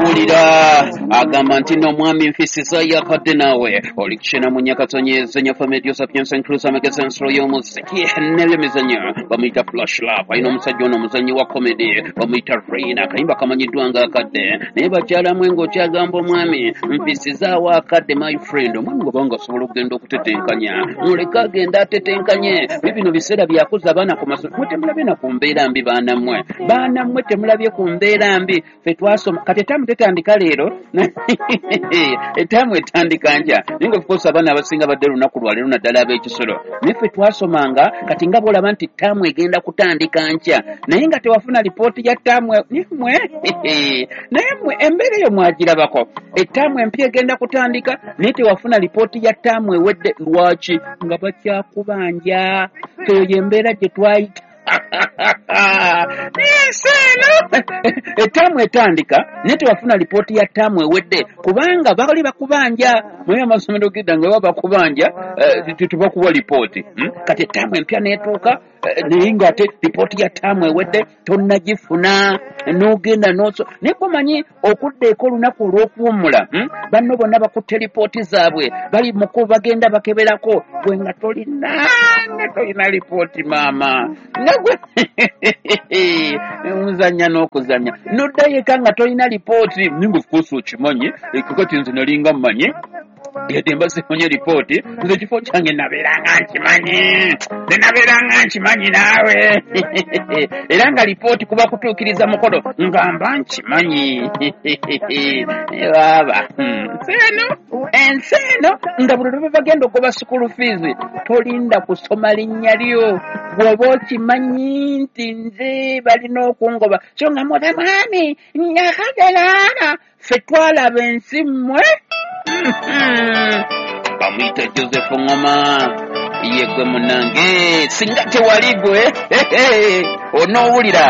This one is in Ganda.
Onoowulira agamba nti n'omwami nfisiza yakadde naawe olikishena mu nyakatonyeze nyafa medio sapiens inclusa amagezi ensolo y'omuziki n'ebyemizannyo. Bamuyita Flash Love, alina omusajja ono omuzannyi wa comedy bamuyita Reina. Akayimba kamanyiddwa nga akadde, naye bakyalamu ng'okyagamba omwami nfisizaawo akadde. My friend, omwami bw'aba nga asobola okugenda okutetenkanya, muleke agenda atetenkanye. Bibino biseera byakuza abaana ku masomero. Mwe temulabye na ku mbeera mbi, baanammwe, baanammwe temulabye ku mbeera mbi. Ffe twasoma, kati etaamu tetandika leero, etaamu etandika nkya, naye nga of course abaana abasinga badde lunaku lwaleero, naddala ab'ekisolo. Naye ffe twasomanga, kati nga bw'olaba nti taamu egenda kutandika nkya, naye nga tewafuna lipooti ya taamu. Mwe naye mwe embeera eyo mwagirabako? Ettaamu empya egenda kutandika, naye tewafuna lipooti ya ttaamu ewedde. Lwaki? Nga bakyakubanja. Eyo yembeera gye twayita ensi eno. Ettaamu etandika, naye tewafuna lipooti ya ttaamu ewedde kubanga bali bakubanja. Naye amasomero gedda nga baba bakubanja, tebakuwa lipooti. Kati ettaamu empya n'etuuka, naye ng'ate lipooti ya ttaamu ewedde tonnagifuna, n'ogenda n'oso. Naye kumanyi okudda eka olunaku olw'okuwummula, Banno bonna bakutte lipooti zaabwe, bali muku bagenda bakeberako, gwe nga tolina, nga tolina lipooti. Maama, nga gwe muzannya n'okuzannya, n'oddayo eka nga tolina lipooti. Ninga of course okimanyi, kakati nze nalinga mmanyi, yadde mba sifunye lipooti, nze ekifo kyange nabeeranga nkimanyi, nze nabeeranga nkimanyi naawe. Era nga lipooti kuba kutuukiriza mukolo, nga mba nkimanyi baaba. Nsi eno, ensi eno, nga buli lwe bagenda okuba school fees, tolinda kusoma linnya lyo, bw'oba okimanyi nti nze balina okungoba. So nga muba mwami nyakagalaana, ffe twalaba ensi mmwe. Bamuyita Joseph Ngoma, ye gwe munange, singa tewali gwe onoowulira.